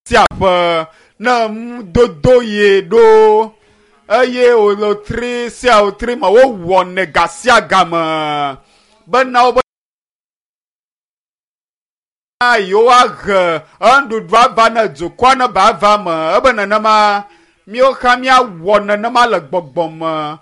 sia ƒe ne nudodo yi ɖo eye wòlotri sia wòtri me wowɔnɛ ga sia game bena wobe yewoahe enuɖuɖu ava ne dukɔa ne ba va me ebe nenema míawo hã míawɔ nenema le gbɔgbɔ me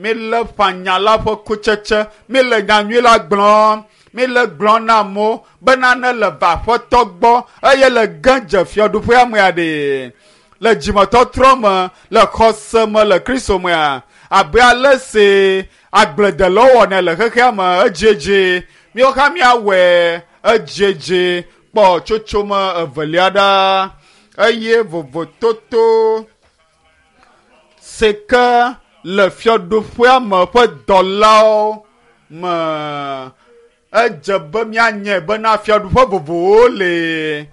mílé ƒã nya la ƒe kutsetse míle nyanyui la gblɔm míle gblɔm na amewo bena ne le va aƒetɔ gbɔ eye le ge dze fiaɖuƒea mea ɖe le dzimetɔtrɔ me le xɔse me le kristo mea abe ale si agbledelawo wɔnɛ le xexea me edziedzi míawo hã míawɔe edziedzi kpɔ tsotsome evelia ɖa eye vovototo si ke le fiaɖuƒea me ƒe dɔlawo me edze be míanyae bena fiaɖuƒe vovovowo le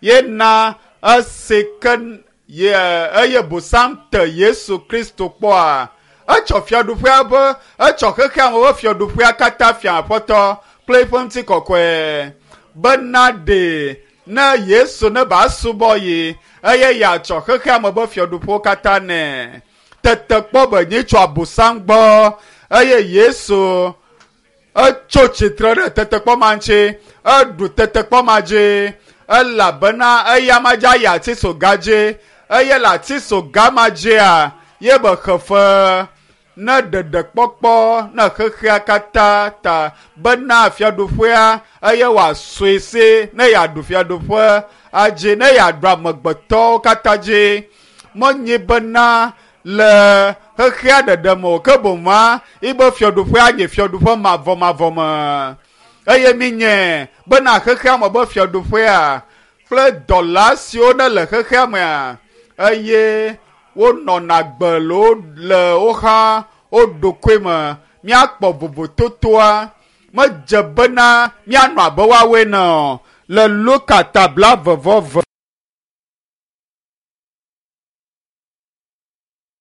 ye na esi ke ye eye bosam te Yesu Kristo kpɔa etsɔ fiaɖuƒea be etsɔ xexea me ƒe fiaɖuƒea katã fia aƒetɔ kple eƒe ŋutikɔkɔe bena ɖe ne Yesu ne ba subɔ ye eye yeatsɔ xexea me ƒe fiaɖuƒewo katã nɛ tetekpɔ be nyi tso abosam gbɔ eye Yesu etso tsitre ɖe tetekpɔ ma ŋuti eɖu tetekpɔ ma dzi elabena eya ma dzi ayi atisoga dzi eye le atisoga ma dzia ye be xefe ne ɖeɖekpɔkpɔ ne xexea katã ta bena fiaɖuƒea eye wòasɔe si ne yeaɖu fiaɖuƒe adzi ne yeaɖu amegbetɔwo katã dzi menyi bena le xexea ɖeɖe me o ke boŋua yibe fiaɖuƒea nye fiaɖuƒe mavɔmavɔ me eye minye bena xexea me be fiaɖuƒea kple dɔla siwo ne le xexea mea eye wonɔna gbe le wo le wo hã wo ɖokui me míakpɔ vovototoa medze bena míanɔ abe woawoe ne o le Luka ta blaeve-vɔ-eve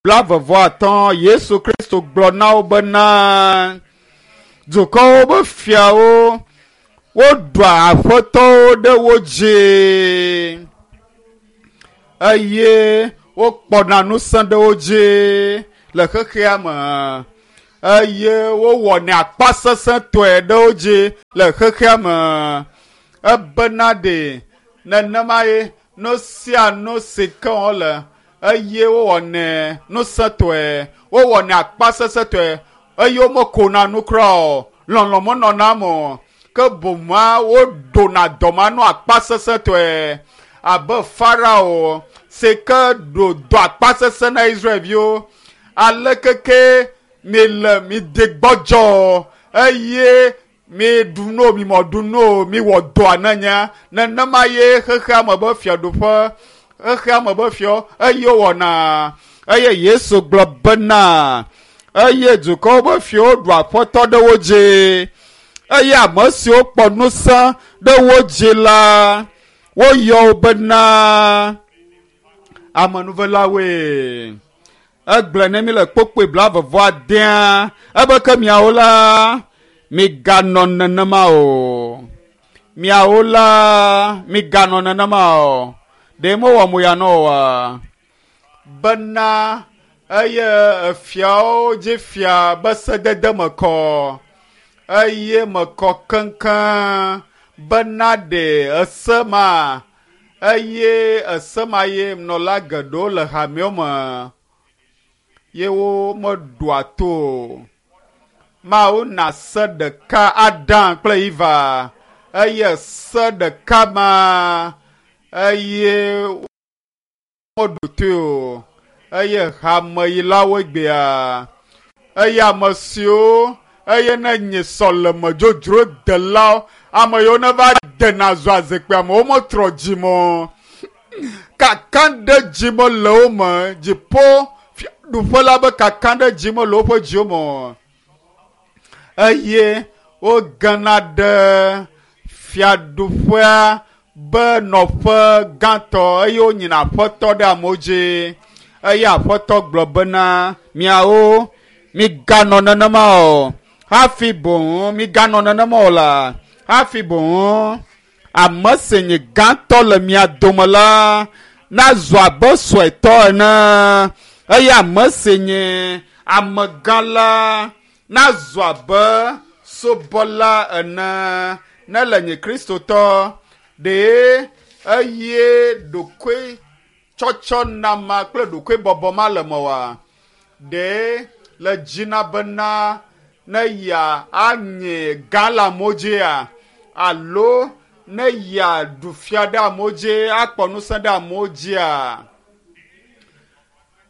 blaeve-vɔ-atɔ̃ Yesu Kristo gblɔ na wo bena dukɔwo be fiawo woɖua aƒetɔwo ɖe wo dzi eye wokpɔna ŋusẽ ɖe wo dzi le xexea me eye wowɔnɛ akpasesẽtɔe ɖe wo dzi le xexea me ebena ɖe nenema ye nu sia nu si ke wole eye wowɔnɛ ŋusẽtɔe wowɔnɛ akpasesẽtɔe eye womekona nu kura o lɔlɔ̃ menɔna eme o ke boŋua woɖona dɔma nu akpasesẽtɔe abe Farao si ke ɖo dɔ akpasesẽ na Israelviwo alekeke mi le mi de gbɔdzɔ eye mi ɖu nu o mi mɔ ɖu nu o mi wɔ dɔa ne nya nenema ye xexea me be fiaɖuƒe xexea me be fiɔ eye wowɔna eye Yesu gblɔ bena eye dukɔwo be fiawo ɖu aƒetɔ ɖe wo dzi eye ame siwo kpɔ ŋusẽ ɖe wo dzi la woyɔ wo bena amenuvelawoe egblɔe ne mi le kpokpoe blaeve-vɔ-adea ebe ke miawo la miganɔ nenema o miawo la miganɔ nenema o ɖe mewɔ mo ya nɔ oa bena eye efiawo dzi fia be sedede me kɔ eye me kɔ keŋkeŋ bena ɖe ese ma eye ese ma ye nɔla geɖewo le hamewo me ye womeɖoa to o. Mawu na se ɖeka Adam kple Eva eye se ɖeka ma eye womeɖo toe o eye hameyilawo gbea eye ame siwo eye ne nye sɔleme dzodzro delawo ame yiwo ne va dena zɔa zikpuia me wometrɔ dzime o kakaɖedzi mele wo me dziƒo fiaɖuƒe la be kakaɖedzi mele woƒe dziwo me o eye wogena ɖe fiaɖuƒea be nɔƒe gãtɔ eye wonyina aƒetɔ ɖe amewo dzi eye aƒetɔ gblɔ bena miawo miganɔ nenema o hafi boŋ miganɔ nenema o la hafi boŋ Ame si nye gãtɔ le mia dome la nazu abe suetɔ ene eye ame si nye amegã la nazu abe subɔla ene. Ne le nye kristotɔ ɖe eye ɖokui tsɔtsɔ nama kple ɖokui bɔbɔ ma le mewòa? Ɖe le dzina bena ne ya anye gã le amewo dzia alo ne ya ɖu fia ɖe amewo dzi akpɔ ŋusẽ ɖe amewo dzia?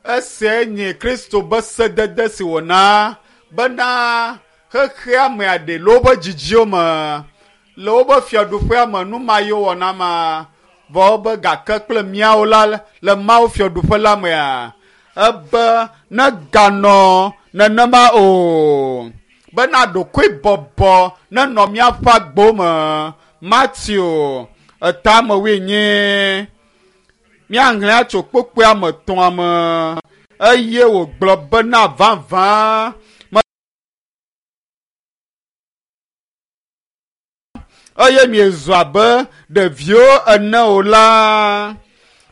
Esiae nye Kristo be sedede si wòna bena xexea me aɖe le woƒe dzidziwo me, le woƒe fiaɖuƒea me nu ma ye wowɔna ma. Vɔ wobe gake kple míawo la le Mawu fiaɖuƒe la mea, ebe neganɔ nenema o. Bena ɖokuibɔbɔ nenɔ míaƒe agbo me. Mateo etame wuienyi. Míaxlẽ atso kpukpuia me tɔ̃a me eye wògblɔ bena vavã eye miezu abe ɖeviwo ene o la,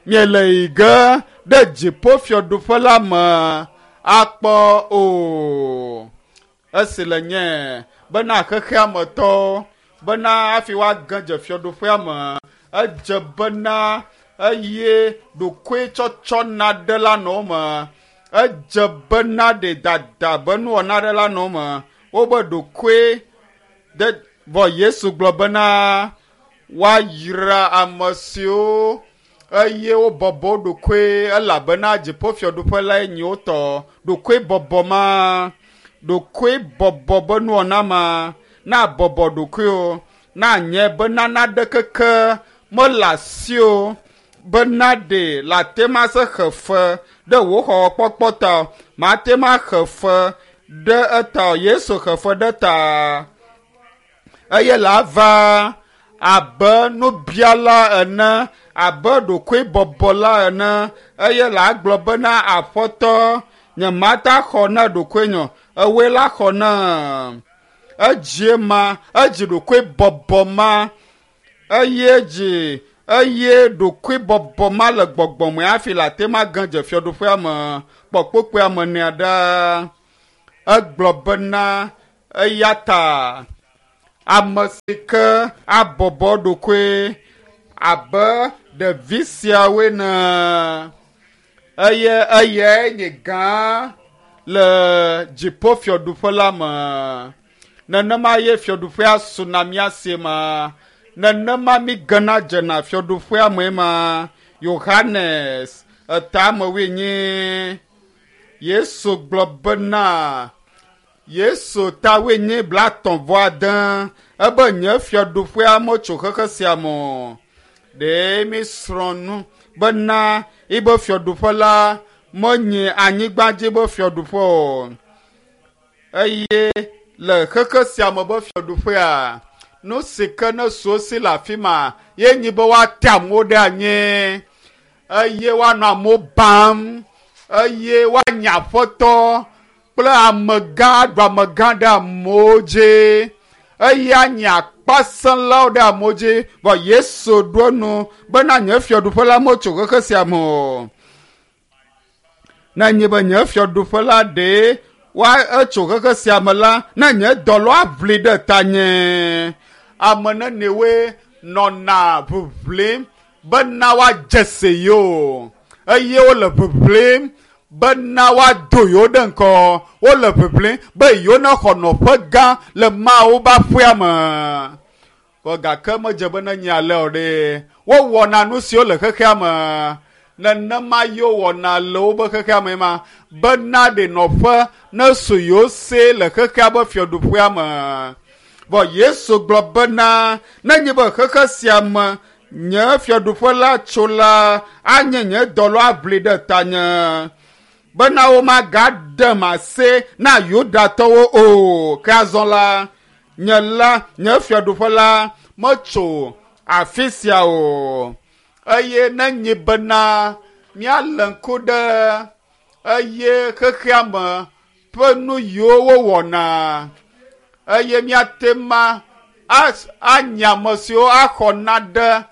miele yi ge ɖe dziƒofiaɖuƒe la me akpɔ o. Esi le nye bena xexea me tɔwo bena hafi woage dze fiaɖuƒea me, edze bena eye ɖokuitsɔtsɔ naɖe la nɔ wo me. Edze bena ɖe dada be nuwɔna ɖe la nɔ wo me. Wobe ɖokui de vɔ Yesu gblɔ bena woayra ame siwo eye wobɔbɔ wo ɖokui elabena dziƒofiaɖuƒe lae nye wo tɔ. Ɖokuibɔbɔ ma, ɖokuibɔbɔ be nuwɔna ma, na bɔbɔ ɖokuiwò, na nye bena naɖe keke mele asiwò bena ɖe le ate ma se xe fe ɖe wò xɔxɔkpɔkpɔ ta o. Mate ma xe fe ɖe eta o. Yesu xe fe ɖe ta eye la va abe nubiala ene, abe ɖokuibɔbɔla ene eye la gblɔ bena aƒetɔ nye mata xɔ na ɖokuinye o, ewòe la xɔ na. Edzie ma, edzi ɖokuibɔbɔ ma eye dzi eye ɖokuibɔbɔ ma le gbɔgbɔ me hafi le ate ma ge dze fiaɖuƒea me kpɔ kpukpuia me nea ɖa. Egblɔ bena eya ta ame si ke abɔbɔ ɖokui abe ɖevi siawoe ne eye eyae nye gã le dziƒofiaɖuƒe la me. Nenema ye fiaɖuƒea suna mía si ma. Nenema mi gena dzena fiaɖuƒea me ma. Yohanes etame wuienyi. Yesu gblɔ bena Yesu ta wuienyi blaetɔ̃ vɔ ade ebe nye fiaɖuƒea metso xexe sia me o. Ɖe mi srɔ̃ nu bena yibe fiaɖuƒe la menye anyigba dzi be fiaɖuƒe o. Eye le xexe sia me be fiaɖuƒea, nu si ke ne su si le afi ma ye nyi be woate amewo ɖe anyi eye woanɔ amewo bam eye woanye aƒetɔ kple amegã aɖu amegã ɖe amewo dzi eye anye akpasẽlawo ɖe amewo dzi. Vɔ Yesu ɖo enu bena nye fiaɖuƒe la metso xexe sia me o. Ne nye be nye fiaɖuƒe la ɖe wa etso xexe sia me la, ne nye dɔlɔ aʋli ɖe tanye. Ame nenewoe nɔna ʋiʋlim bena woadze si yewo eye wole ʋiʋlim bena woado yewo ɖe ŋgɔ. Wole ʋiʋlim be yewo nexɔ nɔƒe gã le Mawu ƒe aƒea me. Vɔ gake medze be nenye ale o ɖe. Wowɔna nu siwo le xexea me. Nenema ye wowɔna le woƒe xexea me ma bena ɖe nɔƒe nesu yewo si le xexea ƒe fiaɖuƒea me. Vɔ Yesu gblɔ bena nenye be xexe sia me nye fiaɖuƒe la tso la anye nye dɔlɔ aʋli ɖe tanye bena womagaɖem asi na Yudatɔwo o. Ke azɔ la, nye la, nye fiaɖuƒe la metso afi sia o. Eye nenye bena míalé ŋku ɖe eye xexea me ƒe nu yiwo wowɔna eye míate ma Anye ame siwo axɔ naɖe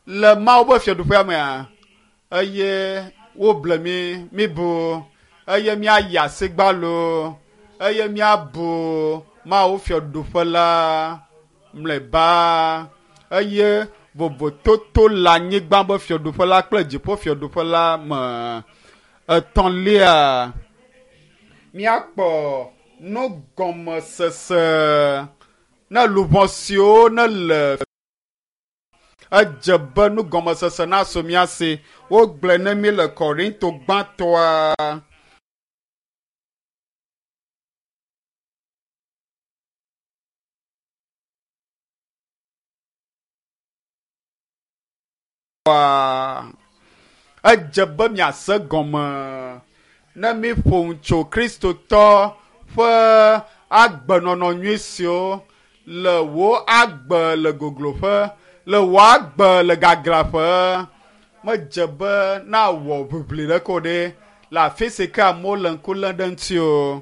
le Mawu ƒe fiaɖuƒea mea? Eye woble mí, míbu, eye míayi asigbalo, eye míabu Mawu fiaɖuƒe la mlɔeba. Eye vovototo le anyigba ƒe fiaɖuƒe la kple dziƒo fiaɖuƒe la me. Etɔ̃lia, míakpɔ nugɔmesese ne luʋɔ siwo nele edze be nugɔmesese nasu mía si. Wogblɔe ne mí le Korinto gbãtɔa. Edze be miase gɔme ne míƒo nu tso Kristotɔ ƒe agbenɔnɔ nyui siwo le wò agbe le gogloƒe, le wò agbe le gaglãƒe. Medze be nawɔ ʋiʋli ɖeke o ɖe le afi si ke amewo le ŋku lém ɖe ŋuti o.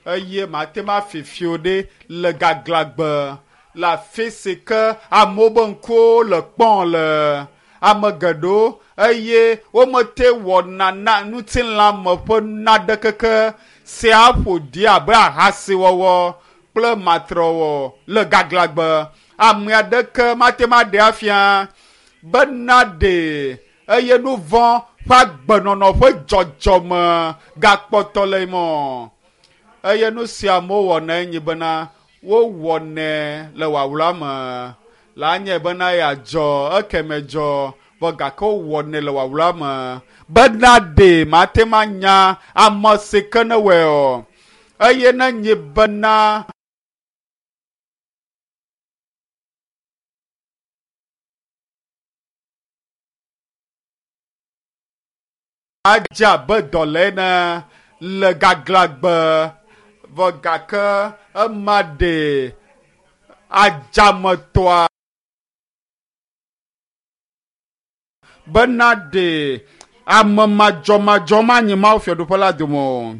Eye mate ŋu afi fi o ɖe le gaglãgbe le afi si ke amewo be ŋkuwo le kpɔm le ame geɖewo eye womete wɔna na ŋutilãme ƒe naɖekeke si aƒo ɖi abe ahasiwɔwɔ kple matrewɔwɔ le gaglãgbe. Ame aɖeke mate ŋu aɖee afia be naɖee eye nu vɔ̃ ƒe agbenɔnɔ ƒe dzɔdzɔme gakpɔtɔ le eme o. Eye nu sia amewo wɔnae nye bena wowɔnɛ le wawla me. La nye bena yeadzɔ ekeme dzɔ vɔ gake wowɔnɛ le wawla me bena ɖe mate ŋu anya ame si ke ne wɔe o. Eye ne nye bena adze abe dɔle ene le gaglãgbe vɔ gake ema ɖe adzametɔa bena ɖe ame madzɔmadzɔ manyi Mawu fiaɖuƒe la dome o.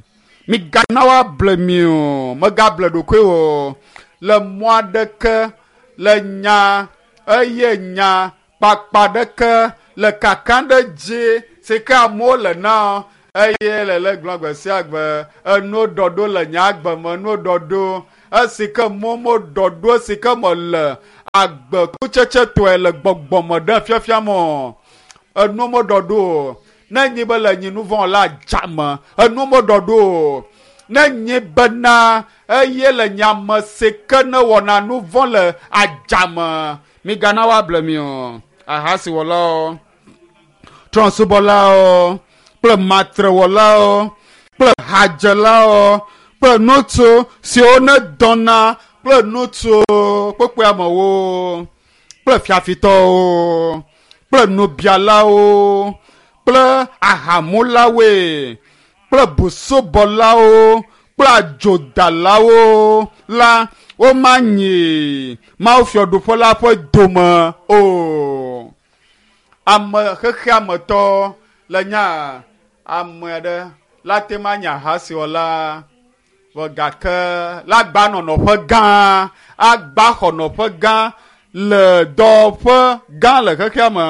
Migana woable mi o, megable ɖokuiwò o. Le mɔ aɖeke le nya eye nya kpakpa ɖeke le kaka ɖe dzi si ke amewo le na eye le le gblɔ gbe sia gbe enuwo ɖɔɖo le nye agbe me enuwo ɖɔɖo esi ke momo ɖɔɖo esi ke mele agbe kutsetsetɔe le gbɔgbɔme ɖe fiafia me o. Enuwo meɖɔɖo o. Ne nyi be le nyi nu vɔ̃ la dzame enuwo meɖɔɖo o. Ne nyi bena eye le nye ame si ke ne wɔna nu vɔ̃ le adzame migana woable mi o. Ahasiwɔlawo, trɔ̃subɔlawo kple matrewɔlawo kple hadzelawo kple ŋutsu siwo nedɔna kple ŋutsu kpekpeamewo kple fiafitɔwo kple nubialawo kple ahamulawoe kple busubɔlawo kple adzodalawo la womanyi Mawu fiaɖuƒe la ƒe dome o. Ame xexeametɔ le nya ame aɖe la te ma nye ahasiwɔla vɔ gake la gba nɔ nɔƒe gã agba xɔ nɔƒe gã le dɔwɔƒe gã le xexea me.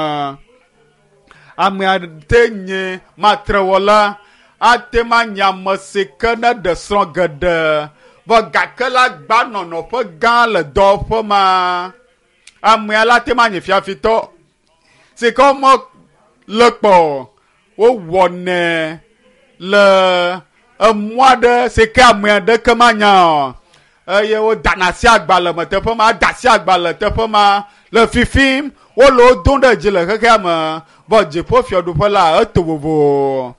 Ame ate nye matrewɔla ate ma nye ame si ke ne ɖe srɔ̃ geɖe vɔ gake la gba nɔ nɔƒe gã le dɔwɔƒe ma. Amea la te ma nye fiafitɔ si ke wome le kpɔ o. Wowɔnɛ le emɔ aɖe si ke ame aɖeke manya o eye wodana asi agbalẽ me teƒe ma, ada asi agbalẽ teƒe ma le fifim wole wo dom ɖe dzi le xexea me vɔ dziƒo fiaɖuƒe la eto vovo.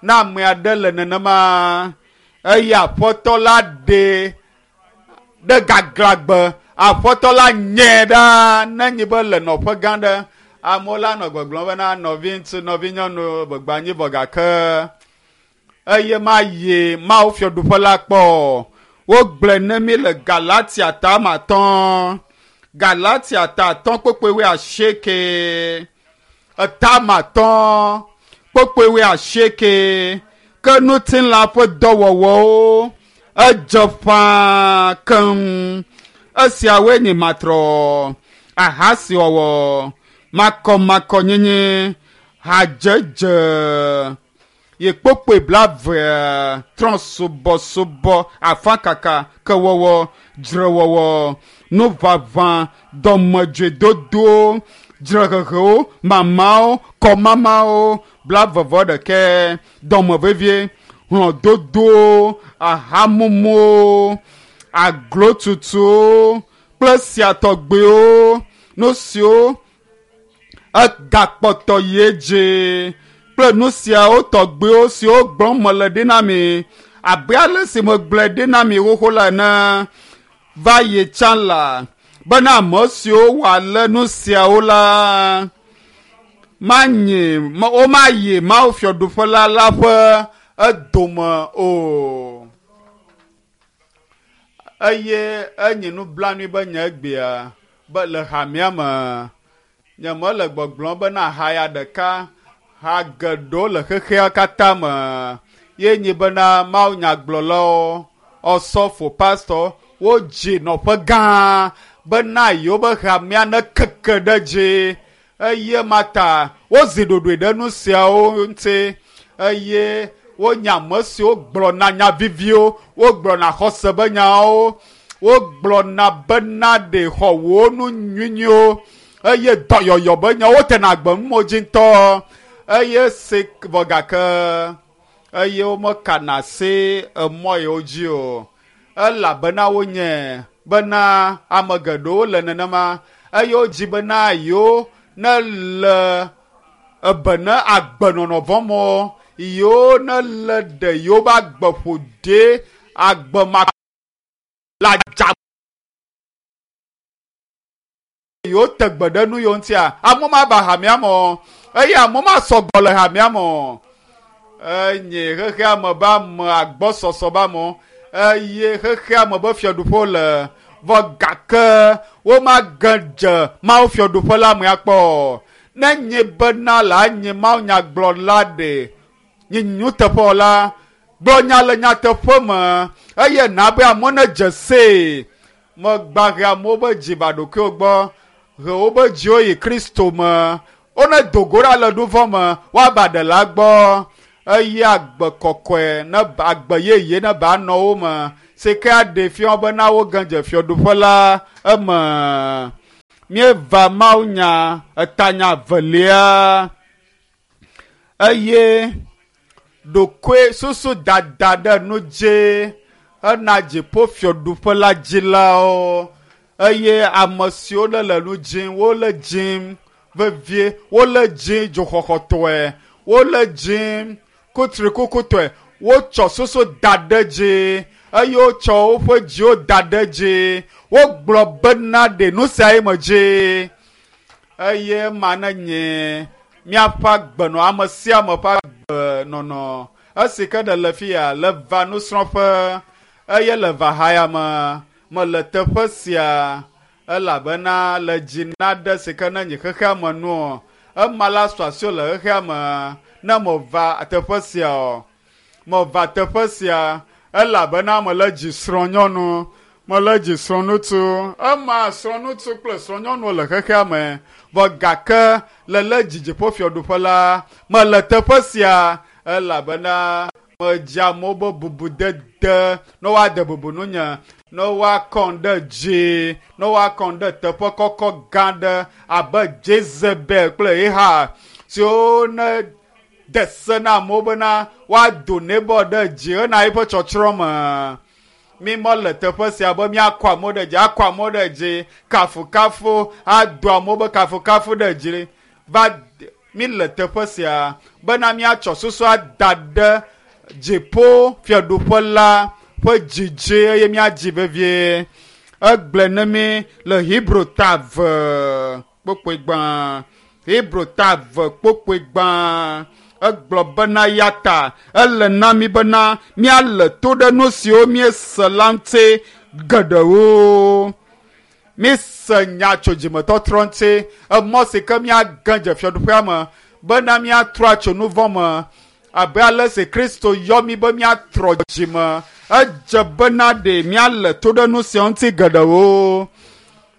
Ne ame aɖe le nenema eye aƒetɔ la ɖe ɖe gaglãgbe aƒetɔ la nyɛ ɖa ne nyi be le nɔƒe gã ɖe amewo la nɔ gbɔgblɔm bena nɔvi ŋutsu nɔvi nyɔnu gbegbe anyi vɔ gake eye mayi Mawu fiaɖuƒe la kpɔ o. Wogblɔe ne mí le Galatia ta ame atɔ̃. Galatia ta atɔ̃ kpukpui wuiasieke. Eta ame atɔ̃ kpukpui wuiasieke. Ke ŋutilã ƒe dɔwɔwɔwo edze ƒãa keŋ. Esiawoe nye matrɔ, ahasiwɔwɔ, makɔmakɔnyenye, hadzedze, ye kpokpoe blave, trɔ̃subɔsubɔ, afakaka, kewɔwɔ, dzrewɔwɔ, nuʋaʋã, dɔmedzoedodo, dzrehehewo, mamawo, kɔmamawo, blavevɔ ɖekɛ, dɔmevevie, hlɔ̃dodowo, ahamumu, aglotutuwo kple sia tɔgbewo, nu siwo egakpɔtɔ yi edzi kple nu siawo tɔgbewo siwo gblɔm mele ɖi na mi abe ale si megblɔe ɖi na mi xoxo la ene va yi tsã la bena ame siwo wɔ ale nu siawo la manyi womayi Mawu fiaɖuƒe la la ƒe edome o. Eye enye nublanui be nye egbea be le hamea me nyemele gbɔgblɔm bena haya ɖeka ha geɖewo le xexea katã me ye nye bena Mawu nyagblɔlawo, ɔsɔfo, pastɔ wodzi nɔƒe gã bena yewo be hamea nekeke ɖe dzi eye mata wozi ɖoɖoe ɖe nu siawo ŋuti eye wonye ame siwo gblɔna nya viviwo, wogblɔna xɔse be nyawo, wogblɔna bena ɖe xɔ wo nu nyuinyuiwo eye dɔyɔyɔ be nyawo tena agbe numo dzi ŋutɔ eye se vɔ gake eye womekana asi emɔ yiwo dzi o elabena wonye bena ame geɖewo le nenema eye wodzi bena yewo ne le ebe ne agbenɔnɔ vɔ̃ mɔ yewo ne le ɖe yewo be agbe ƒo ɖe agbe ma la dza yewo te gbe ɖe nu yewo ŋutia amewo ma va hamea me o eye amewo ma sɔgbɔ le hamea me o enye xexea me be ame agbɔsɔsɔ be amewo eye xexea me be fiaɖuƒewo le vɔ gake womage dze Mawu fiaɖuƒe la me akpɔ o. Ne nye bena la nye Mawu nyagblɔla ɖe nye nuteƒewɔla gblɔ nya le nyateƒe me eye na be amewo nedze see. Megba he amewo be dzi va ɖokuiwo gbɔ, he wobe dziwo yi Kristo me. Wone do go ɖa le nu vɔ̃ me, woava ɖela gbɔ eye agbe kɔkɔe ne agbe yeye ne ba nɔ wo me si ke aɖe fia bena woge dze fiaɖuƒe la eme. Míeva Mawu nya etanya velia eye ɖokoe susu dada ɖe nu dzi ena dziƒo fiaɖuƒe la dzilawo eye ame siwo le le nu dzim wole dzim vevie wole dzim dzoxɔxɔtɔe wole dzim kutrikukutɔe wotsɔ susu da ɖe dzi eye wotsɔ woƒe dziwo da ɖe dzi wogblɔ bena ɖe nu sia ye me dzi eye ma ne nye míaƒe agbenɔ ame sia ame ƒe agbenɔnɔ esi ke ɖe le fia le va nusrɔ̃ƒe eye le va haya me mele teƒe sia elabena le dzi naɖe si ke ne nye xexea me nu ema la sɔ asiwò le xexea me ne meva teƒe sia o. Meva teƒe sia elabena mele dzi srɔ̃nyɔnu, mele dzi srɔ̃ŋutsu. Ema srɔ̃ŋutsu kple srɔ̃nyɔnuwo le xexea me vɔ gake le le dzi dziƒofiaɖuƒe la mele teƒe sia elabena medzi amewo be bubudede ne woade bubu nunye ne woakɔm ɖe dzi ne woakɔm ɖe teƒe kɔkɔ gã ɖe abe Jezebel kple Ahab siwo ne de se na amewo bena woado Nabal ɖe dzi hena eƒe tsɔtsrɔ̃ me. Mi mele teƒe sia be míakɔ amewo ɖe dzi, akɔ amewo ɖe dzi, kafukafu, ado amewo be kafukafu ɖe dzi. Va mi le teƒe sia bena míatsɔ susu ada ɖe dziƒo fiaɖuƒe la ƒe dzidzi eye míadzi vevie. Egblɔe ne mi le Hebrew ta eve kpokpoe gbã. Hebrew ta eve kpokpoe gbã. Egblɔ bena ya ta ele na mi bena míale to ɖe nu siwo míese la ŋuti geɖewo. Míese nya tso dzimetɔtrɔ ŋuti, emɔ si ke míage dze fiaɖuƒea me bena míatrɔ atso nu vɔ̃ me abe ale si Kristo yɔ mí be míatrɔ dzime Edze bena ɖe míale to ɖe nu siawo ŋuti geɖewo.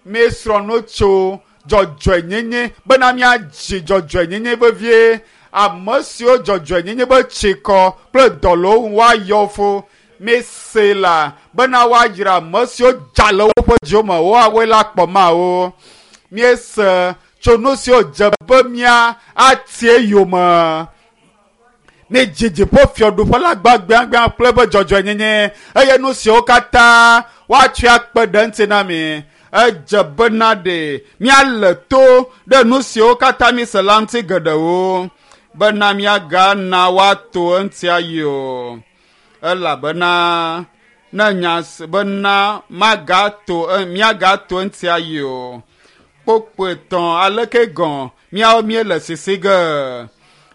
Míesrɔ̃ nu tso dzɔdzɔenyenye bena míadzi dzɔdzɔenyenye vevie. Ame siwo dzɔdzɔenyenye be tsikɔ kple dɔlɔwo ŋu woayɔ fo. Míese la bena woayra ame siwo dza le woƒe dziwo me woawoe la kpɔ mawo. Míese tso nu siwo dze be mía atie yome. Míedzi dziƒo fiaɖuƒe la gbãgbãgbã kple eƒe dzɔdzɔenyenye eye nu siwo katã woatsɔe akpe ɖe eŋuti na mi. Edze bena ɖe míale to ɖe nu siwo katã míese la ŋuti geɖewo bena míagana woato eŋuti ayi o. Elabena ne nya bena magato míagato eŋuti ayi o. Kpokpoe tɔ̃ aleke gɔ̃ míawo míele sisi ge.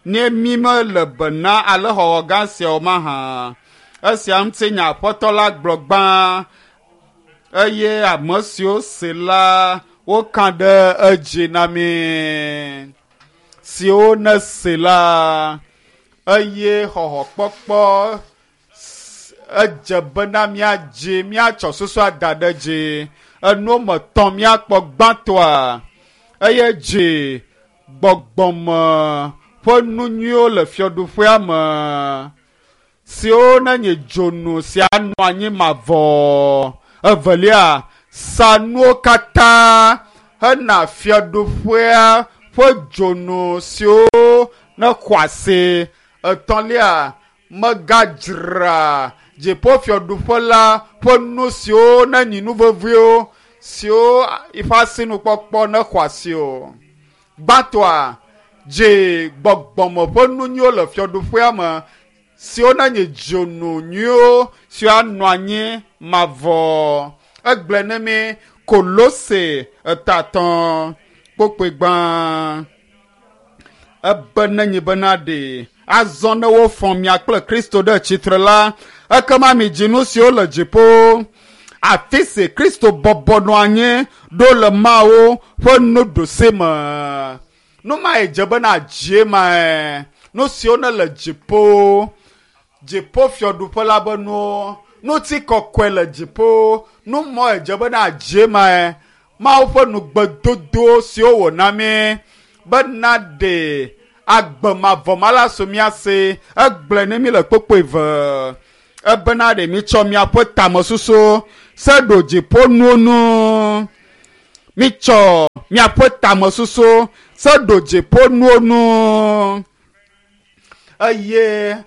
Ne mí mele bena ale xɔxɔ gã siawo mahã. Esia ŋuti nya Aƒetɔ la gblɔ gbã eye ame siwo se la woka ɖe edzi na mí. Siwo ne se la eye xɔxɔkpɔkpɔ edze bena míadzi míatsɔ susu ada ɖe dzi. Enuwo me tɔ̃ míakpɔ gbãtɔa eye dzi gbɔgbɔme ƒe nu nyuiwo le fiaɖuƒea me siwo nenye dzonu sia nɔ anyi mavɔ. Evelia, sa nuwo katã hena fiaɖuƒea ƒe dzonu siwo ne xɔ asi. Etɔ̃lia, megadzra dziƒofiaɖuƒe la ƒe nu siwo nenyi nu veviwo siwo eƒe asinukpɔkpɔ ne xɔ asi o. Gbãtɔa, dzi gbɔgbɔme ƒe nu nyuiwo le fiaɖuƒea me siwo nenye dzonu nyuiwo siwo anɔ anyi mavɔ. Egblɔe ne mí Kolose etatɔ̃ kpokpoe gbã. Ebe nenye bena ɖe azɔ ne wofɔ mia kple Kristo ɖe tsitre la, ekema midzi nu siwo le dziƒo. Afi si Kristo bɔbɔ nɔ anyi ɖo le Mawu ƒe nuɖusi me. Nu mae dze bena dzie mae. Nu siwo ne le dziƒo. Dziƒo fiaɖuƒe la be nuwo. Ŋutikɔkɔe le dziƒo. Nu mɔ edze bena dzie mae. Mawu ƒe nugbedodo siwo wòna mí bena ɖe agbe mavɔ ma la su mía si. Egblɔe ne mí le kpokpoe ve. Ebena ɖe mítsɔ míaƒe tamesusu se ɖo dziƒo nuwo nu. Mítsɔ míaƒe tamesusu se ɖo dziƒo nuwo nu. Eye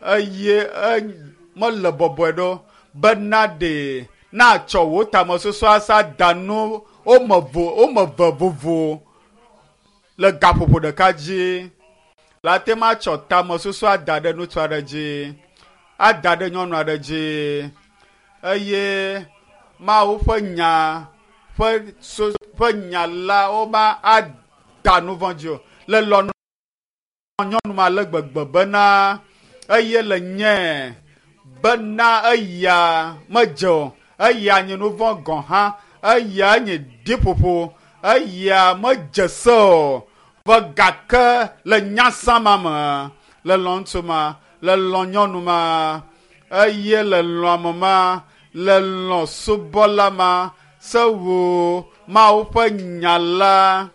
eye mele bɔbɔe ɖo bena ɖe natsɔ wò tamesusu asa da nu wome ve vovo le gaƒoƒo ɖeka dzi. La te ma tsɔ tamesusu ada ɖe ŋutsu aɖe dzi, ada ɖe nyɔnu aɖe dzi eye Mawu ƒe nya ƒe nya la woma ada nu vɔ̃ dzi o. Le lɔ̃ nyɔnu ma le gbegbe bena eye le nye bena eya medze o, eya nye nu vɔ̃ gɔ̃ hã, eya nye ɖiƒoƒo, eya medze se o. Vɔ gake le nyasã ma me, le lɔ̃ ŋutsu ma, le lɔ̃ nyɔnu ma, eye le lɔ̃ ame ma, le lɔ̃ subɔla ma, se wò Mawu ƒe nya la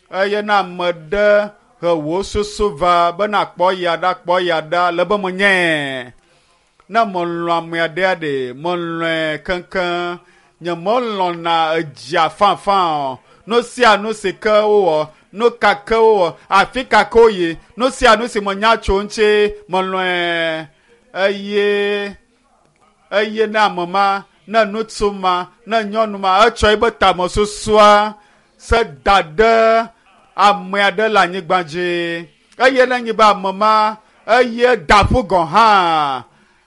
eye ne ame ɖe he wò susu va bena kpɔ ya ɖa kpɔ ya ɖa le be menye. Ne melɔ̃ amea ɖea ɖe melɔ̃e keŋkeŋ. Nye melɔ̃na edzia fãfã o. Nu sia nu si ke wowɔ, nu ka ke wowɔ, afi ka ke woyi, nu sia nu si menya tso ŋuti melɔ̃e. Eye eye ne ame ma, ne ŋutsu ma, ne nyɔnu ma etsɔ eƒe tamesusua se da ɖe ame aɖe le anyigba dzi. Eye ne nyi be ame ma eye da ƒu gɔ̃ hã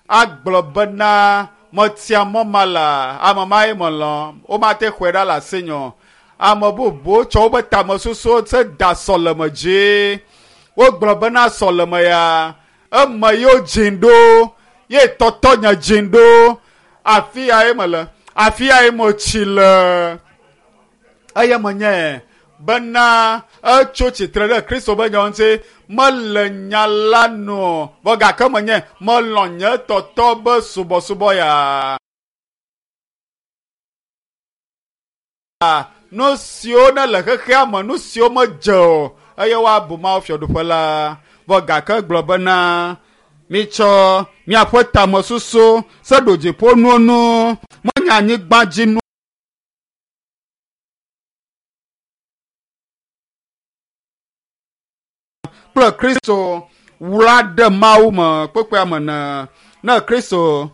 agblɔ bena metia mɔ ma la, ame ma ye melɔ̃. Womate xɔe ɖa le asinye o. Ame bubuwo tsɔ woƒe tamesusuwo se da sɔleme dzi. Wogblɔ bena sɔleme ya eme yewo dzi ɖo, ye tɔtɔ nye dzi ɖo. Afi ya ye mele, afi ya ye metsi le. Eye menye Bena etso tsitre ɖe Kristo ƒe nyawo ŋuti. Mele nya la nu o, vɔ gake menye melɔ̃ nye tɔtɔ be subɔsubɔ ya. Nu siwo ne le xexea me, nu siwo medze o, eye woabu Mawu fiaɖuƒe la. Vɔ gake gblɔ bena, mitsɔ miaƒe tamesusu se ɖo dziƒonuwo nu, menye anyigba dzi nu. Kple Kristo wla ɖe Mawu me kpekpea me ne. Ne Kristo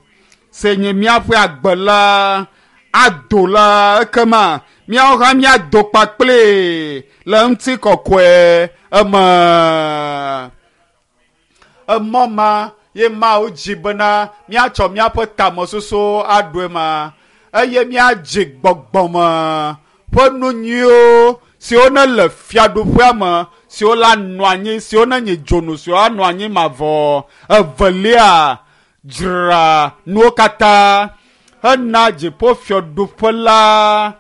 si nye míaƒe agbe la ado la, ekema míawo hã míado kpakpli le ŋutikɔkɔe eme. Emɔ ma ye Mawu dzi bena míatsɔ míaƒe tamesusuwo aɖo ema eye míadzi gbɔgbɔme ƒe nu nyuiwo siwo ne le fiaɖuƒea me, siwo la nɔ anyi, siwo ne nye dzonu, siwo anɔ anyi mavɔ. Evelia, dzra nuwo katã hena dziƒofiaɖuƒe la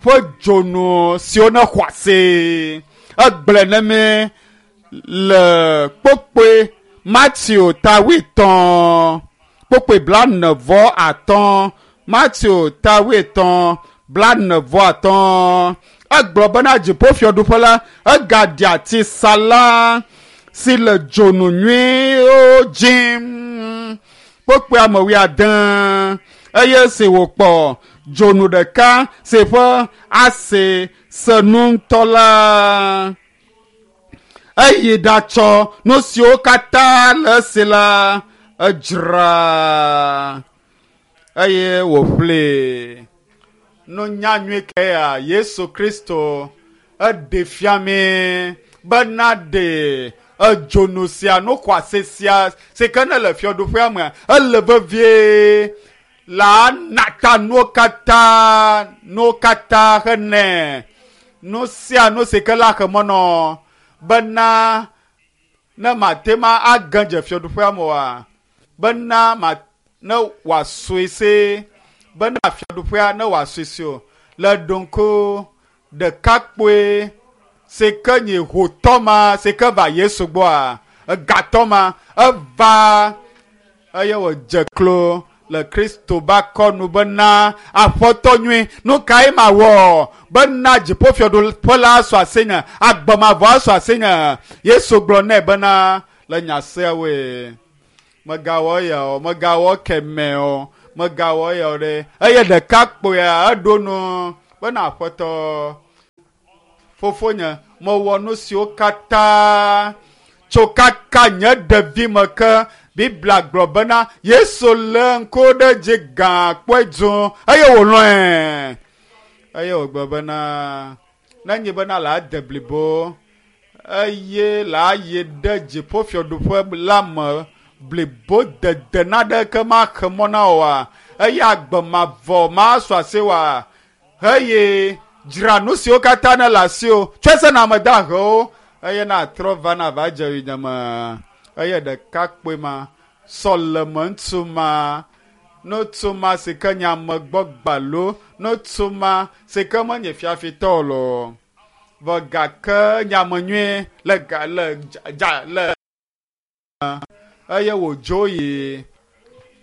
ƒe dzonu siwo ne xɔ asi. Egblɔe ne mí le kpokpoe Mateo ta wuietɔ̃, kpokpoe 45, Mateo ta 8, 45. Egblɔ bena dziƒofiaɖuƒe la egaɖi ati sala si le dzonu nyuiwo dzim. Kpokpoe ame 80 eye si wòkpɔ dzonu ɖeka si ƒe asi se nu ŋutɔ la, eyi ɖatsɔ nu siwo katã le esi la edzra eye wòƒlee. Nunya nyui ke ya Yesu Kristo eɖe fia mí bena ɖe edzonu sia, nu xɔasi sia si ke ne le fiaɖuƒea mea, ele vevie la nata nuwo katã, nuwo katã hene nu sia nu si ke la xe mɔ nɔ bena ne mate ma age dze fiaɖuƒea me oa, bena ma ne wòasɔe se bena fiaɖuƒea ne wòasɔe se o. Le ɖoŋku ɖekakpui si ke nye hotɔ ma si ke va Yesu gbɔa, egatɔ ma eva eye wòdze klo le Kristo ƒe akɔnu bena, Aƒetɔ nyui, nu kae mawɔ bena dziƒofiaɖuƒe la asu asinye, agbe mavɔ asu asinye? Yesu gblɔ nɛ bena, le nya siawoe, megawɔ eya o, megawɔ kemɛ o, megawɔ eya o ɖe. Eye ɖekakpuia eɖo nu bena, Aƒetɔ, fofonye, mewɔ nu siwo katã tso kaka nye ɖevime ke. Biblia gblɔ bena Yesu lé ŋku ɖe dzi gã kpɔe dũ eye wòlɔ̃e. Eye wògblɔ bena, nenye bena la de blibo eye la yi ɖe dziƒofiaɖuƒe la me blibo dede naɖeke maxe mɔ na oa, eye agbe mavɔ masu asi oa, eye dzra nu siwo katã ne le asiwò, tsɔe se na ame dahewo, eye natrɔ va na va dze yonyeme. Eye ɖekakpui ma, sɔleme ŋutsu ma, ŋutsu ma si ke nye ame gbɔ gbalo, ŋutsu ma si ke menye fiafitɔ o loo, vɔ gake nye ame nyui le ga le dza le eye wòdzo yi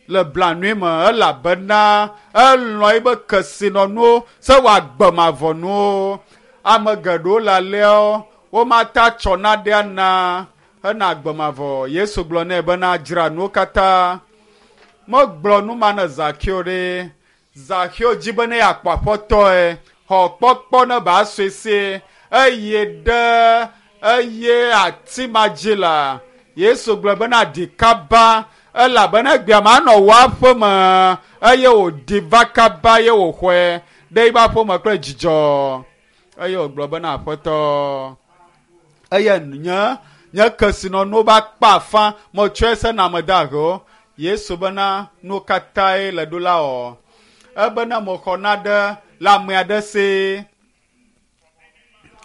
le blanui me elabena elɔ̃ eƒe kesinɔnuwo se wòagbe mavɔ nuwo. Ame geɖewo le aleawo womata tsɔ naɖe ana hena agbe mavɔ. Yesu gblɔ nɛ bena dzra nuwo katã. Megblɔ nu ma ne Zakeo ɖe. Zakeo dzi be ne yeakpɔ aƒetɔe, xɔ kpɔkpɔ ne ba sue sie eye ɖe eye ati ma dzi la. Yesu gblɔ bena ɖi kaba elabena egbea manɔ wò aƒe me eye wòɖi va kaba eye wòxɔe ɖe eƒe aƒe me kple dzidzɔ. Eye wògblɔ bena aƒetɔ, eye nye nye kesinɔnuwo va kpe afã metsɔe se na ame dahewo. Yesu bena nu katãe le ɖo la wɔ. Ebena mexɔ na ɖe le ame aɖe si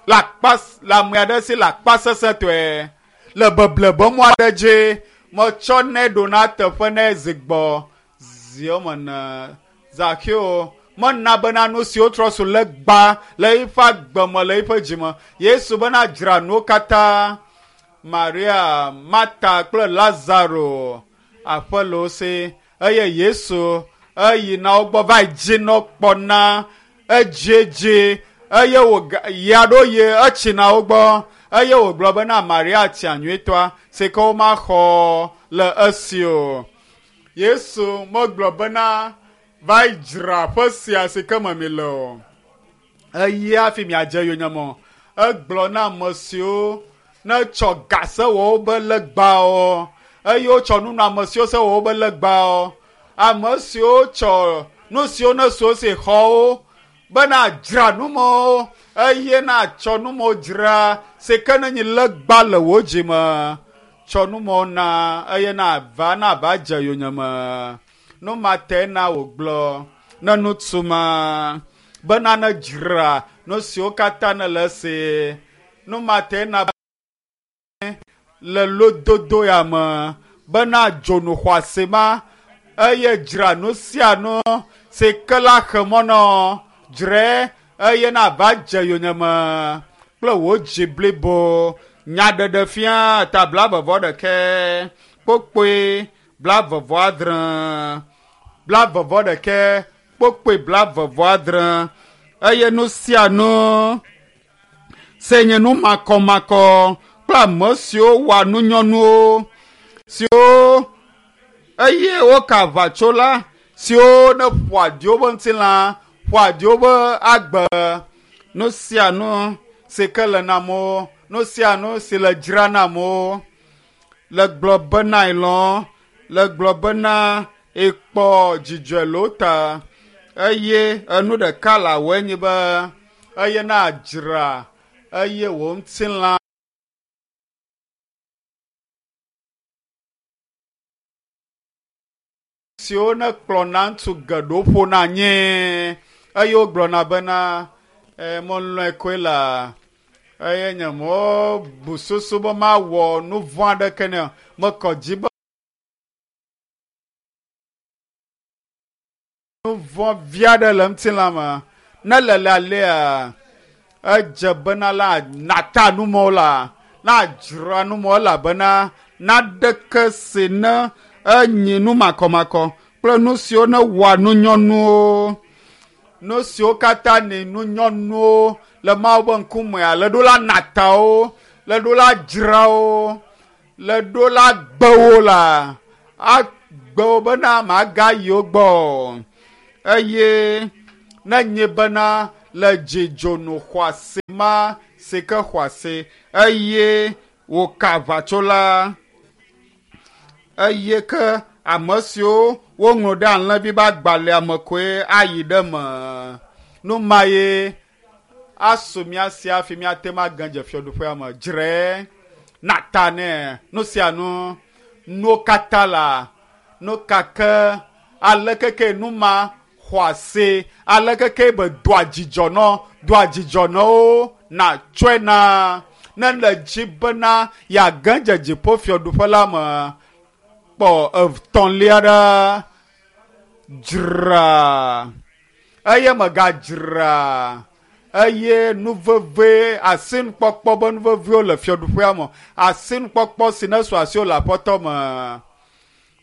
le akpa le ame aɖe si le akpa sesẽtɔe le beble be mɔ aɖe dzi metsɔ nɛ ɖo na teƒe nɛ zi gbɔ zi woame ene. Zakeo Mena bena nu siwo trɔ su legba le eƒe agbe me le eƒe dzime. Yesu bena dzra nuwo katã. Maria, Marta kple Lazaro aƒe le wo si eye Yesu eyina wo gbɔ va yi dzi nɔ kpɔna edziedzi eye wòga ya ɖo ye etsina wo gbɔ eye wògblɔ bena Maria tia nyuitɔa si ke womaxɔ le esi o. Yesu megblɔ bena va yi dzra aƒe sia si ke me mi le o. Eye hafi miadze yonyeme o. Egblɔ na ame siwo ne tsɔ ga sewɔwo be legbawo eye wotsɔ nunɔamesiwo sewɔwo be legbawo. Ame siwo tsɔ nu siwo ne su wo si xɔwo bena dzra numɔwo eye natsɔ numɔwo dzra si ke ne nyi legba le wò dzime. Tsɔ numɔwo na eye nava nava dze yonyeme. Nu ma te na wògblɔ ne ŋutsu ma bena ne dzra nu siwo katã ne le esi. Nu ma te na le lododo ya me bena dzonu xɔasi ma eye dzra nu sia nu si ke la xe mɔ nɔ dzrae eye nava dze yonyeme kple wò dzi blibo. Nyaɖeɖefia ta 21 kpokpoe 76 21 kpokpoe 76 eye nu sia nu se nye nu makɔmakɔ kple ame siwo wɔa nunyɔnuwo siwo eye woka aʋatso la siwo ne ƒoa ɖi woƒe ŋutilã ƒoa ɖi woƒe agbe. Nu sia nu si ke le na amewo, nu sia nu si le dzra na amewo le gblɔ bena elɔ̃ le gblɔ bena ekpɔ dzidzɔe le wo ta eye enu ɖeka le awɔe nyi be eye na dzra eye wò ŋutilã siwo ne kplɔna ŋutsu geɖewo ƒona anyi eye wogblɔna bena melɔ̃e koe la eye nye mebu susu be mawɔ nu vɔ̃ aɖeke nɛ o. Mekɔ dzi be nu vɔ̃ vi aɖe le ŋutilã me. Ne le le alea edze bena la nata numɔwo la nadzra numɔwo elabena naɖeke si ne enyi nu makɔmakɔ kple nu siwo ne wɔa nunyɔnuwo nu siwo katã ni nunyɔnuwo le Mawu ƒe ŋkumea le ɖo la natawo le ɖo la dzrawo le ɖo la gbewo la agbewo bena magayi wo gbɔ o. Eye ne nye bena le dzidzonu xɔasi ma si ke xɔasi eye wòka aʋatso la eye ke ame siwo woŋlɔ ɖe alẽvi ƒe agbalẽa me koe ayi ɖe me. Nu ma ye asu mía si hafi míate ŋu age dze fiaɖuƒea me. Dzrae nata nɛ nu sia nu nuwo katã la nu ka ke aleke ke nu ma xɔasi aleke ke be doa dzidzɔ nɔ doa dzidzɔ nɔ wo natsɔe na ne le dzi bena yeage dze dziƒo fiaɖuƒe la me. Kpɔ etɔ̃lia ɖa dzra eye megadzra eye nu veve asinukpɔkpɔ be nu vevewo le fiaɖuƒea me asinukpɔkpɔ si ne su asiwò le aƒetɔ me.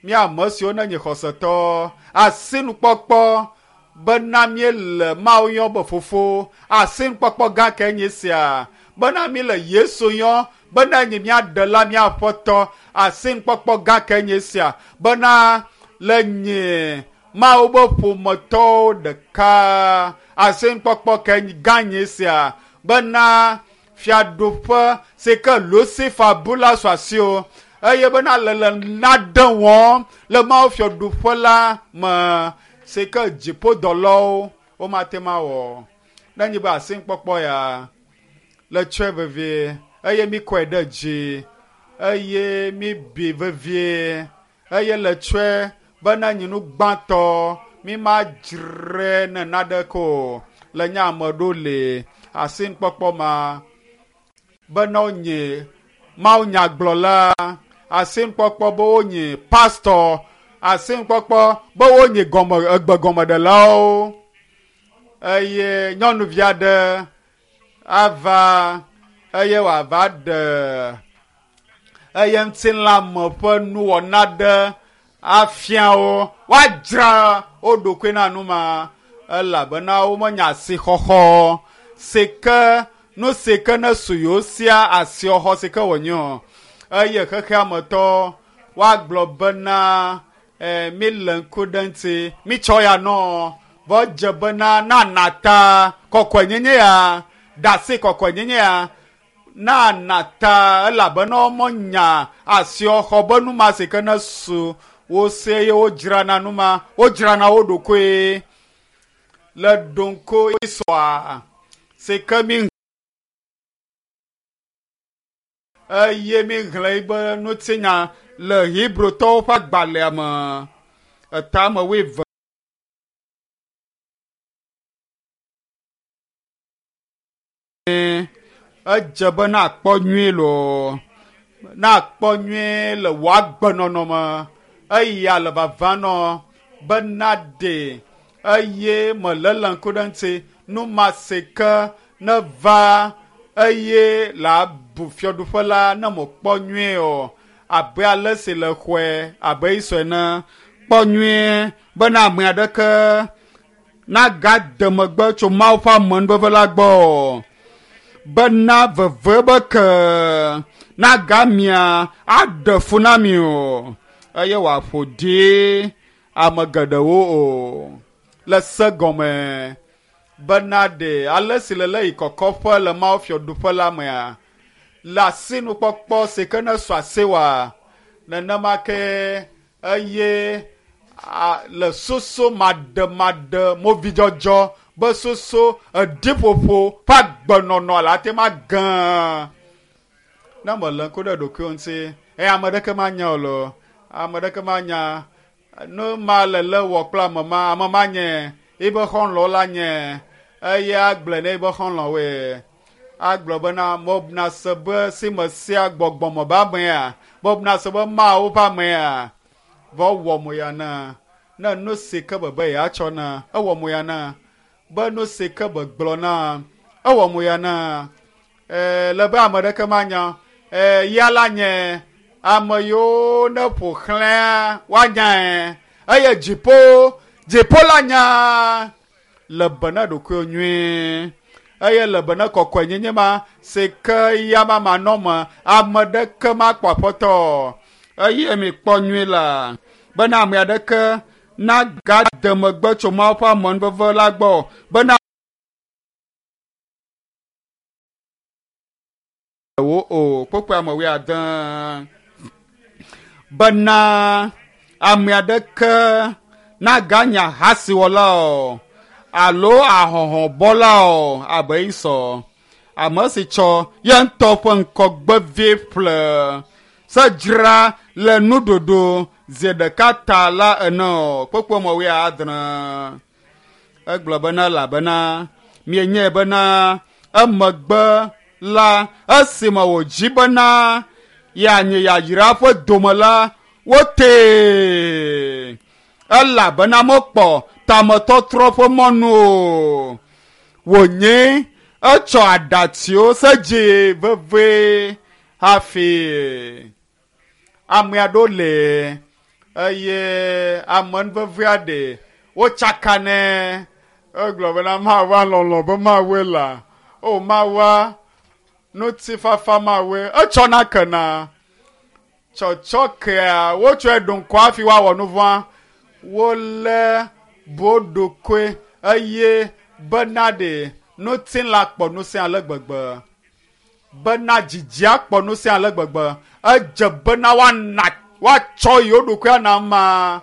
Mía ame siwo ne nye xɔsetɔ asinukpɔkpɔ bena míele Mawu yɔ be fofo asinukpɔkpɔ gã ke nye sia bena míele Yesu yɔ bena nye míaɖela mía aƒetɔ asinukpɔkpɔ gã ke nye sia bena le nye Mawu be ƒometɔwo ɖeka asinukpɔkpɔ ke gã nye sia bena fiaɖuƒe si ke Lucifer bu la su asiwò eye bena le le naɖe wɔm le Mawu fiaɖuƒe la me si ke dziƒodɔlawo womate ŋu awɔ. Ne nye be asinukpɔkpɔ ya le tsɔe vevie eye mikɔe ɖe dzi eye mibi vevie eye le tsɔe bena nye nu gbãtɔ mi madzrae ne naɖeke o le nye ame ɖo le asinukpɔkpɔ ma bena wonye Mawu nyagblɔla asinukpɔkpɔ be wonye pastor asinukpɔkpɔ be wonye gɔme egbegɔmeɖelawo. Eye nyɔnuvi aɖe ava eye wòava ɖe eye ŋutilãme ƒe nuwɔna ɖe afia wo. Woadzra wo ɖokui na nu ma elabena womenya asixɔxɔ si ke nu si ke ne su yewo sia asixɔxɔ si ke wònye o. Eye xexeametɔ woagblɔ bena e, mi le ŋku ɖe ŋuti, mitsɔ ya nɔ vɔ dze bena nana ta kɔkɔenyenye ya, ɖe kɔkɔenyenye ya nana ta elabena womenya asixɔxɔ be nu ma si ke ne su wo si eye wodzrana nu ma, wodzrana wo ɖokoe le ɖoŋko isɔa si ke mi eye mi xlẽ yibe ŋutinya le Hebrotɔwo ƒe agbalẽa me etame wuieve. Edze be nakpɔ nyuie loo, nakpɔ nyuie le wò agbenɔnɔ me eya le vava nɔ be naɖe eye melele ŋku ɖe ŋuti nu ma si ke neva eye le abu fiaɖuƒe la ne mekpɔ nyuie o abe ale si le xɔe abe Esau ene. Kpɔ nyuie bena ame aɖeke nagade megbe tso Mawu ƒe amenuveve la gbɔ o. Bena veve be ke nagamia aɖe fu na mi o eye wòaƒo ɖi ame geɖewo o le se gɔme bena ɖe ale si le le yi kɔkɔƒe le Mawu fiaɖuƒe la mea le asinukpɔkpɔ si ke ne su asiwòa nenema ke eye le soso maɖemaɖe movidzɔdzɔ be soso eɖiƒoƒo ƒe agbenɔnɔ le ate ma gã ne mele ŋku ɖe ɖokuiwo ŋuti eye ame ɖeke manya o loo ame ɖeke manya nu ma le le wɔ kple ame ma ame ma nye yibe xɔlɔ̃wo la nye eye agblɔe ne yibe xɔlɔ̃woe agblɔ bena mobna se be si me sia gbɔgbɔme be amea mobna se be Mawu ƒe amea vɔ wɔ mo ya na ne nu si ke bebe yeatsɔ na ewɔ mo ya na be nu si ke be gblɔ na ewɔ mo ya na e, le be ame ɖeke manya e, ya la nye ame yiwo ne ƒo xlẽa woanyae eye dziƒo dziƒo la nya le be na ɖokuiwo nyuie eye le be na kɔkɔenyenye ma si ke ya ma manɔ me ame ɖeke makpɔ aƒetɔ eye mikpɔ nyuie la bena ame aɖeke nagade megbe tso Mawu ƒe amenuveve la gbɔ bena wo o kpokpoe ame wuiade bena ame aɖeke naganye ahasiwɔla o alo ahɔhɔbɔla o abe Esau ame si tsɔ ye ŋutɔ ƒe ŋkɔgbevi ƒle se dzra le nuɖuɖu zi ɖeka ta la ene o kpokpoe me wuiadre. Egblɔ bena elabena mienyae bena emegbe la esime wòdzi bena yeanyi yayra ƒe dome la wotee elabena mekpɔ tametɔtrɔ ƒe mɔnu o. Wònye etsɔ aɖatsiwo se dzi vevie hafi ame aɖewo le eye amenuvevea ɖe wotsakanɛ. Egblɔ bena Mawua lɔlɔ̃ be Mawue la. O Mawua ŋutifafa Mawue etsɔna kena. Tsɔtsɔ kea wotsɔe ɖo ŋkɔ hafi woawɔ nu vɔ̃a. Wolé bu wo ɖokoe eye bena ɖe ŋutilã kpɔ ŋusẽ ale gbegbe. Bena dzidzia kpɔ ŋusẽ ale gbegbe. Edze bena woana woatsɔ yewo ɖokui ana amea.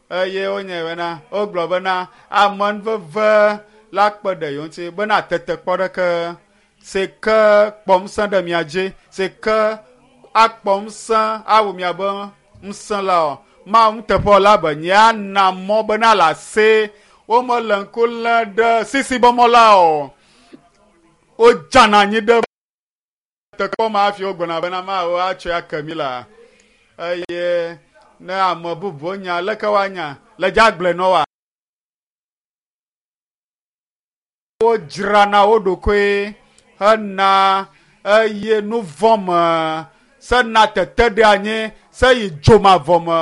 Eye wonye bena wogblɔ bena amenuveve la kpe ɖe yewo ŋuti bena tetekpɔ ɖeke si ke kpɔ ŋusẽ ɖe mia dzi si ke akpɔ ŋusẽ awu miabe ŋusẽ la o. Mawu nuteƒewɔla be nyea mɔ bena le asi womele ŋku lém ɖe sisi be mɔ la o. Wodzana anyi ɖe tetekpɔ ma hafi wogblɔna bena Mawu atsɔe ake mi la. Eye ne ame bubuwo nya leke woanya le dze agblɔe nɔ woa? Wodzrana wo ɖokui hena eye nu vɔ̃ me sena tete ɖe anyi se yi dzomavɔ me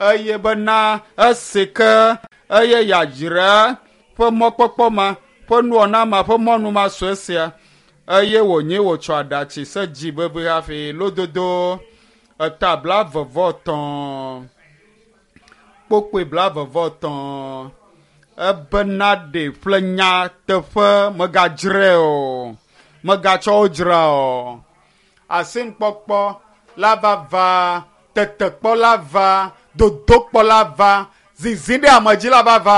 eye bena esi ke eye yeadzra ƒe mɔkpɔkpɔ ma ƒe nuwɔna ma ƒe mɔnu ma sue sia eye wònye wòtsɔ aɖatsi se dzi vevie hafi lododo eta 33 kpokpoe 33 ebena ɖe ƒle nyateƒe megadzrae o, megatsɔ wo dzra o. Asinukpɔkpɔ la va va, tetekpɔ la va, dodokpɔ la va, zizi ɖe ame dzi la va va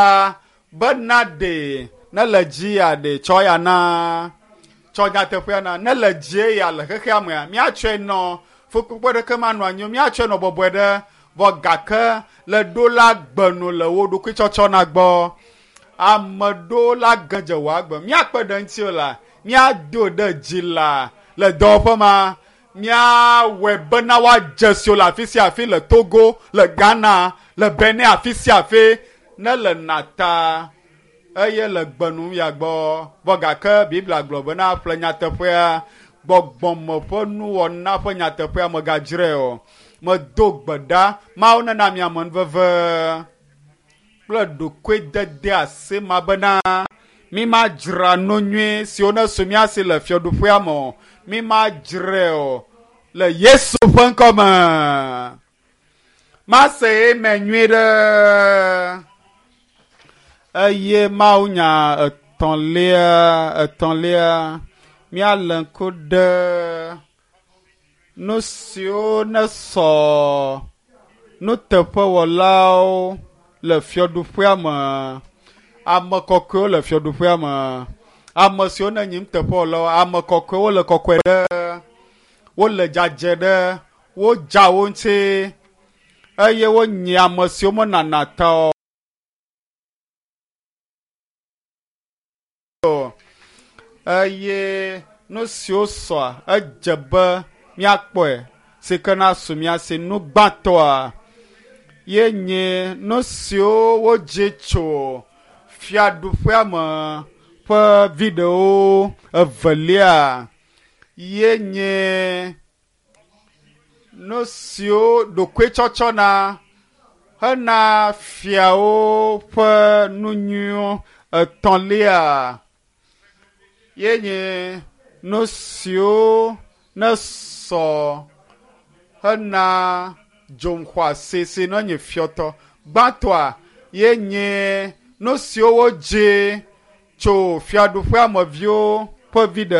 bena ɖe ne le dzi ya ɖe tsɔ ya na tsɔ nyateƒea na ne le dzie ya le xexea mea míatsɔe nɔ fukpekpe ɖeke manɔ anyi o míatsɔe nɔ bɔbɔe ɖe vɔ gake le ɖo la gbenu le wo ɖokui tsɔtsɔ na gbɔ ame ɖewo la gedze wò agbe míakpe ɖe ŋuti o la míado ɖe dzi la le dɔwɔƒe ma míawɔe bena woadze si wo le afi sia afi le Togo le Ghana le Benin afi sia afi ne le nata eye le gbenu ya gbɔ vɔ gake Biblia gblɔ bena ƒle nyateƒea gbɔgbɔme ƒe nuwɔna ƒe nyateƒea megadzrae o. Medo gbe ɖa Mawu nena mi amenuveve kple ɖokuidede asi ma bena mi madzra nu nyui siwo ne su mía si le fiaɖuƒea me o mi madzrae o le Yesu ƒe ŋkɔ me. Mase eme nyui ɖe eye Mawu nya etɔ̃lia etɔ̃lia míalé ŋku ɖe nu siwo ne sɔ nuteƒewɔlawo le fiaɖuƒea me ame kɔkɔewo le fiaɖuƒea me ame siwo ne nyi nuteƒewɔlawo ame kɔkɔewo le kɔkɔe ɖe wole dzadzɛ ɖe wodza wo ŋuti eye wonyi ame siwo menana ta o. Eye nu siwo sɔa edze be míakpɔe si ke na su mía si nu gbãtɔa ye nye nu siwo wodzi tso fiaɖuƒea me ƒe viɖewo evelia ye nye nu siwo ɖokuitsɔtsɔ na hena fiawo ƒe nu nyuiwo etɔ̃lia ye nye nu siwo ne sɔ hena dzoxɔasi si ne nye fiɔtɔ gbãtɔa ye nye nu siwo wodzi tso fiaɖuƒea me viwo ƒe viɖe.